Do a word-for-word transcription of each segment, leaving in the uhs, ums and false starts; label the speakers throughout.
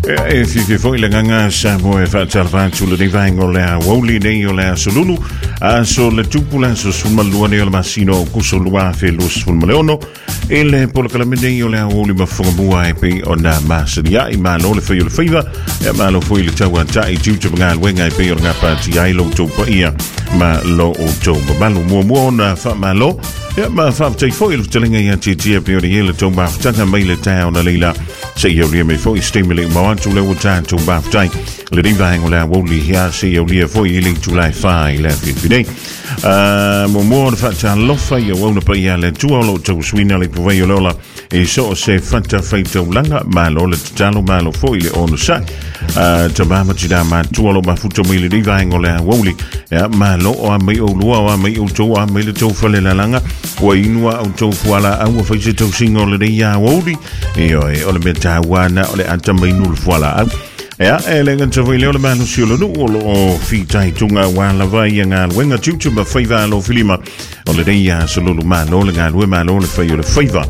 Speaker 1: E fifi foi le gaga Samoa e faatalofa atu lenei vaega o le aoauli nei o le aso Lulu, aso le tupu le aso sefulumalua nei o le masina o Kuso lua afe lua sefulu ma le ono i le polokalame nei o le aoauli ma fogamua e pei ona masani ai. Malo le fai o le faiva, e malo foi le tauata'i tiute ma galuega e pei o le gapatia ai lo outou paia ma lo outou mamalu. Muamua ona faamalo ia ma faafetai foi le fetalaiga ia Tietia pe o le ia le tou mafutaga mai le taeao na leila seia aulia mai foi se taimi le uma atu le ua tatou mafutai lenei vaega o le aoauli ia seia aulia foi i le itula e fa i le afiafi nei. Muamua ona faatalofa i auauna paia a le Atua o loo tausuina le ipuvai o le ola i so o se fata faitaulaga. Malo le tatalo, malo foi le onosai, tamā ma tinā matua o loo mafuta mai lenei vaega o le aoauli. Ia malo o a mai oulua o a mai outou o a mai le tou falelalaga ua inua outou fualaau ua fai se tausiga o lenei aoauli. Ioe, o le mea taua na o le ata mai nu le fualaau. Ia, e le gata foi lea o le malosi o le nuu o loo fitaituga ua lava ia galuega tiute ma faiva alofilima o lenei aso Lulu. Malo le galue, malo le fai o le faiva.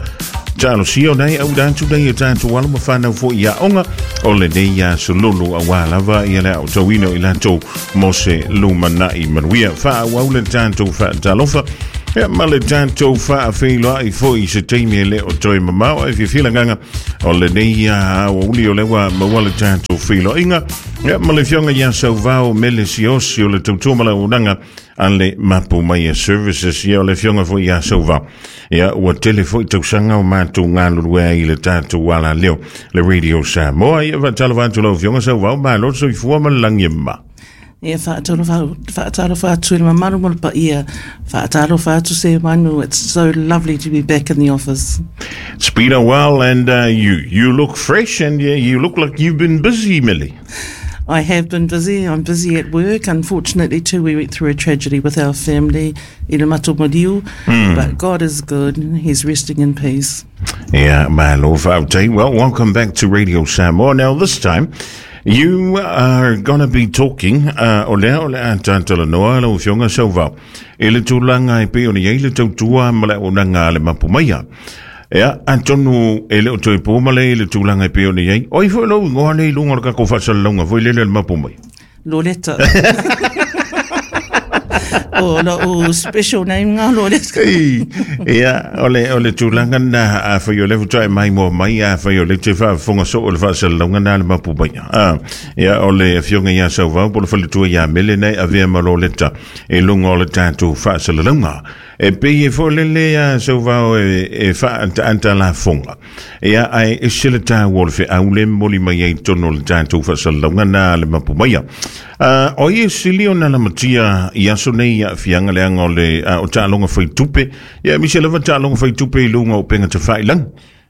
Speaker 1: Talosia o nei au atu nei e tatou alo ma whanau fo ia onga o lenei aso Lulu auā lava ia le aotauina o i latou mo se lumanai manuia. Faaauau le tatou faatalofa ia ma le tatou faafeiloai foi i se taimi e le o toe mamao. Ai fiafia le agaga o lenei aoauli o lea ua maua le tatou feiloaiga ia ma le afioga ia Sauvao Mele Siosi o le tautua ma le auaunaga a le Mapu Maia Services. Ia o le afioga foi ia Sauvao, ia ua tele foi tausaga o matou galulue ai i le tatou alaleo le Radio Samoa. Ia faatalofa atu lau afioga Sauvao, malo le soifua ma le lagi e mama.
Speaker 2: Ia faatalofa faatalofa atu i le mamalu ma le paia. Faatalofa atu Seumanu. It's so lovely to be back in the office.
Speaker 1: It's been a while and uh, you you look fresh and uh, you look like you've been busy, Millie.
Speaker 2: I have been busy. I'm busy at work. Unfortunately, too, we went through a tragedy with our family, i le matou maliu. But God is good. He's resting in peace.
Speaker 1: Yeah, malo faafetai. Well, welcome back to Radio Samoa. Now, this time, you are going to be talking, uh, o lea o le a tatalanoa lau afioga Sauvao, i le tulaga e pei ona i ai le tautua ma le auaunaga a le Mapu Maia. Ia, atonu e le o toe po ma le i le tulaga e pei ona i ai. O ai foi lou igoa nei i luga o le tatou faasalalauga foi lele le Mapu Maia?
Speaker 2: Loleta. O lou special name ngā Loleta.
Speaker 1: Ei, ia, o le, o le tulaga na a fai o le futa e mai mo mai a fai o le te faafofoga soo o le faasalalauga na le Mapu Maia. Ah, ia, o le afioga ia Sauvao po le faletua ia Mele nei avea ma Loleta i luga o le tatou faasalalauga. E pei e foi lele a Sauvao e, e faaantaanta lafoga. Ia, ae ese le taua o le feau le momoli mai ai totonu o le tatou faasalalauga na le Mapu Maia. Uh, o ia sili ona lamatia i aso nei aafiaga leaga o le uh, o taaloga faitupe. Ia, aemaise lava taaloga faitupe i luga o upega tafailagi.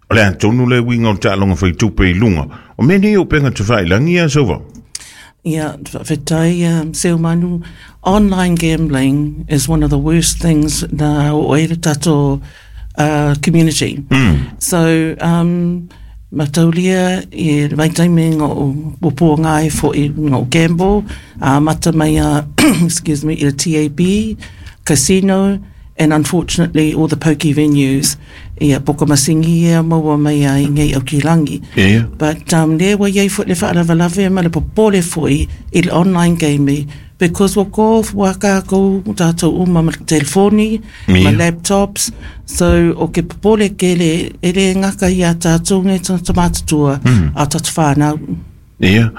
Speaker 1: O le atonu le uiga o taaloga faitupe i luga. O mea nei o upega tafailagi ia Sauvao?
Speaker 2: Yeah, faafetai um, Seumanu. Online gambling is one of the worst things na o e le tatou uh, community. Mm. So, um, mataulia i le vaitaimi o o pō ngai fo i ngā gamble, uh, mata mai a, excuse me, i le T A B, casino, and unfortunately all the pokie venues. Ia poka masingi ia maua mai ai ngei au ki langi.
Speaker 1: Ia.
Speaker 2: But um, le wa iai fo le whaalavalave ma le popole foi i le online gaming because wa ko wa ka ko tātou uma ma telefoni, ma
Speaker 1: Ia.
Speaker 2: laptops, so o ke popole ke le e le ngaka ia tātou ngai tata matatua mm. a tātou whānau.
Speaker 1: Ia,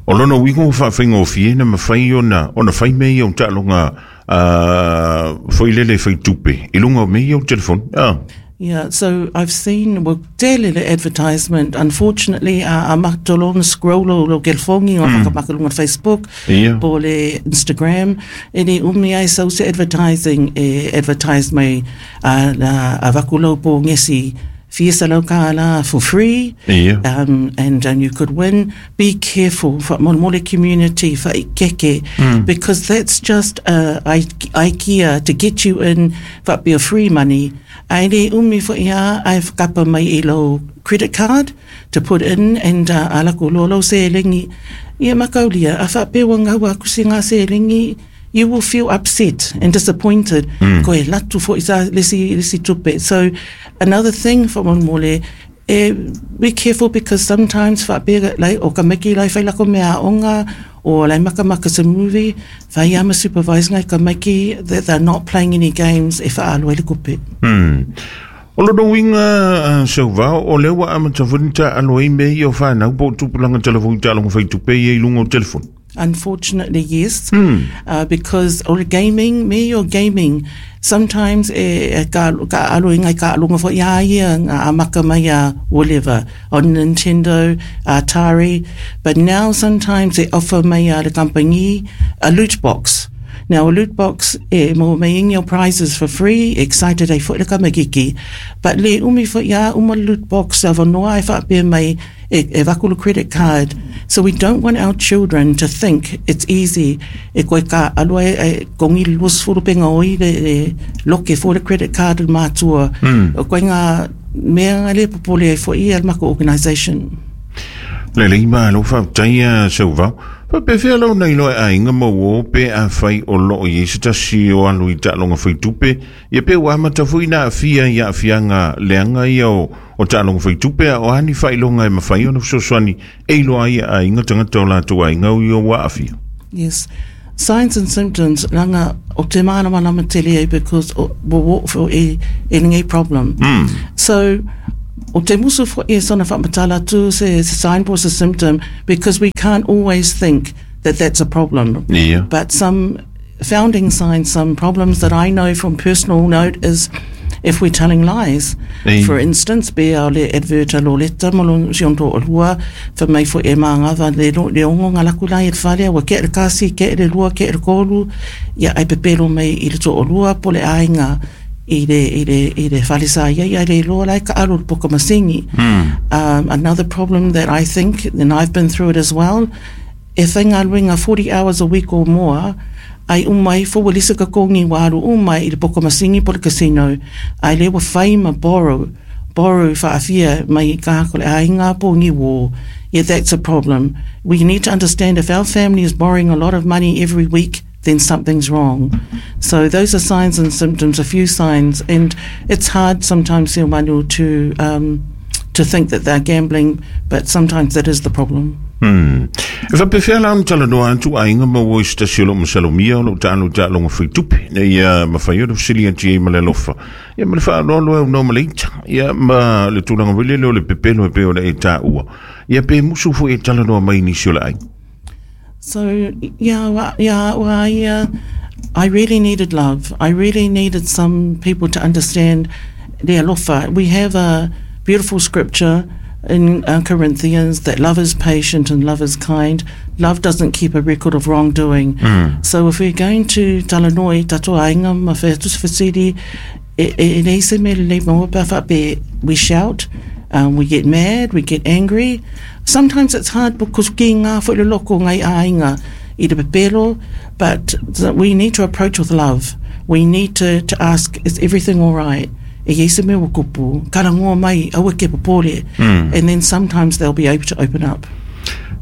Speaker 1: o lona uiga ua faafaigofie na mafai ona ona fai mea ia o taaloga uh, foi lele faitupe i luga o mea ia o telefoni. Ah.
Speaker 2: Yeah, so I've seen well tele le advertisement. Unfortunately, a a matolong scroll lo lo gelfongi o mm. whakamakalunga Facebook,
Speaker 1: Ia.
Speaker 2: po le Instagram, e ni umi ai sau se advertising e advertise mai a la a vakulo po ngesi fia lau la for free.
Speaker 1: Ia.
Speaker 2: Um, and, and you could win. Be careful for mole community for keke mm. because that's just a idea to get you in for be a free money. Ai le umi fo ia ai whakapa mai i lau credit card to put in and uh, ala ko lolo se lengi. Ia makaulia, a whapewa ngau aku se ngā se lengi, you will feel upset and disappointed. Mm. Ko e latu fo isa lesi, lesi tupe. So another thing for mole, E be careful because sometimes faapea lai o ka maiki lai fai lako mea onga o lai maka maka se movie fai ama supervise ngai ka maiki that they're not playing any games e whaalo e le kupe.
Speaker 1: Hmm. O lo winga uh, Sauvao, o lea ua amata foi ona taalo ai mea ia o whanau po o tupulaga telefoni taaloga faitupe ia i luga o telefoni.
Speaker 2: Unfortunately, yes. Mm. Uh, because all gaming, me your gaming, sometimes e, e ka, ka alo inga ka alonga fo ia ia ngā amaka mai a whatever, on Nintendo, Atari, but now sometimes they offer mai a le company a loot box. Now, a loot box, e mo mai ingi o prizes for free, excited ai fo le kamagiki. But le umi fo ia uma loot box a wanoa e whaapea mai e, e vakulu credit card. So we don't want our children to think it's easy. E koe ka aloa e, e kongi luas furu penga oi le, le loke fo le credit card le mātua. Mm. O koe ngā mea ngā le popole e fo ia le mako organisation.
Speaker 1: Le le ima alo whautaia Sauvao. Fa pe fea lau nei loe a inga mau pe a whai o loo i se tasi o alu i taaloga faitupe. Ia pe ua amata foi na afia i aafiaga leaga ia o, o taaloga faitupe a o ani faailoga e mafai ona fesoasoani e iloa ai e aiga tagata o latou aiga o ia ua aafia.
Speaker 2: Yes. Signs and symptoms langa o te mana mana tele ai because o wo wo e e ngai problem.
Speaker 1: Mm.
Speaker 2: So o te musu fo e sona whaamatala tu se, se sign po se symptom because we can't always think that that's a problem.
Speaker 1: Yeah.
Speaker 2: But some founding signs, some problems that I know from personal note is if we're telling lies.
Speaker 1: Ei.
Speaker 2: For instance, be a le adverta lo leta mo lo si onto o lua, fa mai fo e maanga va le lo le ongo ngā laku lai e whale, wa ke le kasi, ke le lua, ke le kolu, ia ai pepelo mai i le to o lua, po le ainga i le, i le, i le whale sa ia, ia le loa lai ka alo le poka masingi.
Speaker 1: Mm.
Speaker 2: Um, another problem that I think, and I've been through it as well, e whainga luenga forty hours a week or more, ai umai fo walisa ka kongi waru umai i le poka masingi po le casino, ai le wa whaima borrow, borrow whaafia mai ka hako le ainga po ngi wo. Yeah, that's a problem. We need to understand if our family is borrowing a lot of money every week, then something's wrong. So those are signs and symptoms, a few signs, and it's hard sometimes, Manu, to um, to think that they're gambling, but sometimes that is the problem.
Speaker 1: Hmm. E whapewhea la ona talanoa atu aiga ma ua i se tasi o loo masalomia o loo taalo i taaloga faitupe ina ia mafai ona fesili atu ai ma le alofa ia ma le faaaloalo e aunoa ma le ita ia ma le tulaga foi lele o le pepelo e pei ona e taua ia pe musu foi e talanoa mai nisi o le aiga.
Speaker 2: So, yeah, wa, yeah, wa, yeah, I really needed love. I really needed some people to understand the alofa. We have a beautiful scripture in uh, Corinthians that love is patient and love is kind. Love doesn't keep a record of wrongdoing.
Speaker 1: Mm.
Speaker 2: So if we're going to talanoi, tato ainga, ma wheatus whasiri, e, e, e nei se me le maua pea whape, we shout, um, we get mad, we get angry. Sometimes it's hard because ki ngā whaile loko ngai ainga i te pepelo, but we need to approach with love. We need to, to ask, is everything all right? E yeisa me wakupu, karangoa mai, aua ke popore.
Speaker 1: Mm.
Speaker 2: And then sometimes they'll be able to open up.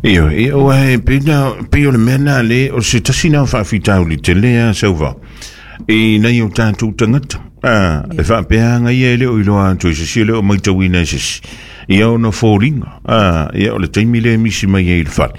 Speaker 1: Iyo, iyo, e, pina, pio le mea le, o se tasi nā whaafitauli te lea sauva. E nei o tātou tangata. Ah, e whaapeanga ia e leo i loa atu i sisi, e leo mai tauina i sisi. Ia ona fōringa. Ah, ia o le taimi le misi mai e i le whale.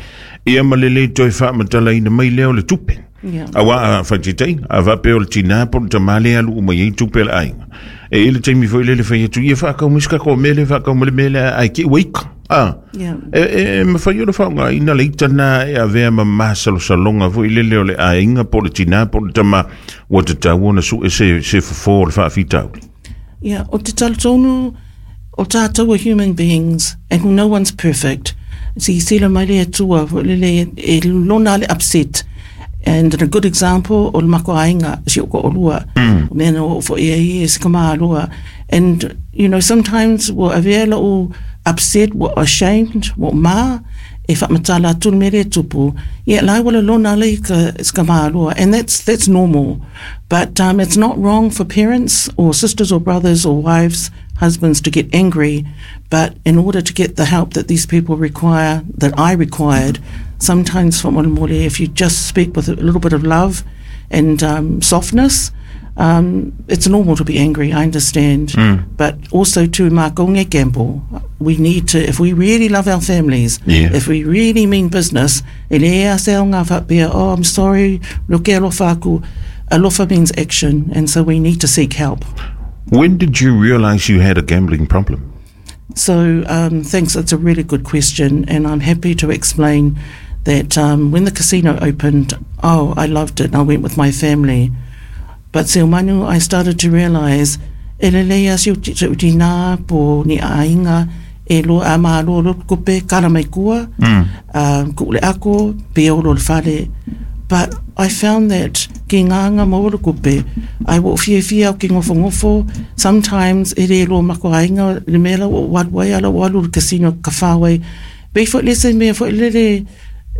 Speaker 1: Ia ma le le toi whaamatala ina mai leo le tupe.
Speaker 2: Yeah.
Speaker 1: Awa a whaititei, a whape o le tina po le tamale alu umai ei tupe le ainga. E ile taimi foi lele whai atu, ia whaakau miska ko mele, whaakau mele mele ai ki ueika. Ah.
Speaker 2: Yeah.
Speaker 1: E, e, mawhai o le whaonga ina le itana e avea ma masalosaloga foi lele o le ainga po le tina po le tama ua tatau ona su e se, se fofo o le whaafitauli.
Speaker 2: Yeah, o te talotonu, o tātou are human beings and no one's perfect. Si sila mai le atua, lele e lona le upset. And a good example, o le mako ainga, si o ko olua.
Speaker 1: Mm.
Speaker 2: Mea o fo ia i e se kama alua. And, you know, sometimes wa avea o upset, wa ashamed, wa ma, e whaamatala atu mere tupu. Yeah, lai wala lona le ka se kama alua. And that's, that's normal. But um, it's not wrong for parents or sisters or brothers or wives, husbands to get angry. But in order to get the help that these people require, that I required, sometimes if you just speak with a little bit of love and um, softness, Um, it's normal to be angry, I understand.
Speaker 1: Mm.
Speaker 2: But also to makonge gamble, we need to, if we really love our families,
Speaker 1: Yeah.
Speaker 2: if we really mean business, e le a se ngā whapea, oh, I'm sorry, look alofa aku. Alofa means action, and so we need to seek help.
Speaker 1: When did you realise you had a gambling problem?
Speaker 2: So, um, thanks. It's a really good question, and I'm happy to explain that um, when the casino opened, oh, I loved it. And I went with my family. But Seumanu, I started to realise, e lele ia si uti uti nā po ni ainga e lo a ma lo lo kupe kala mai kua,
Speaker 1: Mm.
Speaker 2: um, ku le ako, pe o lo le fale. But I found that ki ngā ngā maua kupe, ai wo fia fia o ki ngofo ngofo, sometimes e re lo mako ainga, le mela o walu ala walu le casino ka whawai. Be fo lese mea fo lele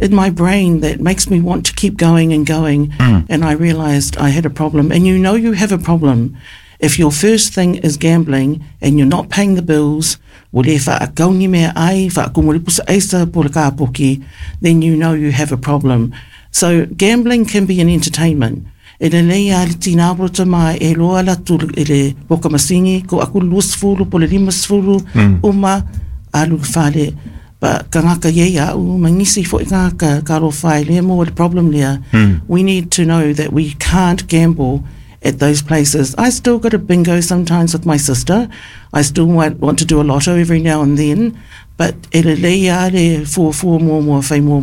Speaker 2: in my brain that makes me want to keep going and going.
Speaker 1: Mm.
Speaker 2: And I realized I had a problem. And you know you have a problem if your first thing is gambling and you're not paying the bills, o le whaakauni mea ai, whaakumuripusa aisa po le kāpoki, then you know you have a problem. So gambling can be an entertainment. E le lei a le tina ta mai e loa la tu e le poka masingi, ko aku lusfulu po le limasfulu,
Speaker 1: Mm.
Speaker 2: uma alu fale. But ka ngaka ye ia u mangisi fo i ngaka ka ro whai le mo le problem lea.
Speaker 1: Mm.
Speaker 2: We need to know that we can't gamble at those places. I still go to bingo sometimes with my sister. I still want, want to do a lotto every now and then. But e le lei a le fua fua mua mua whai mua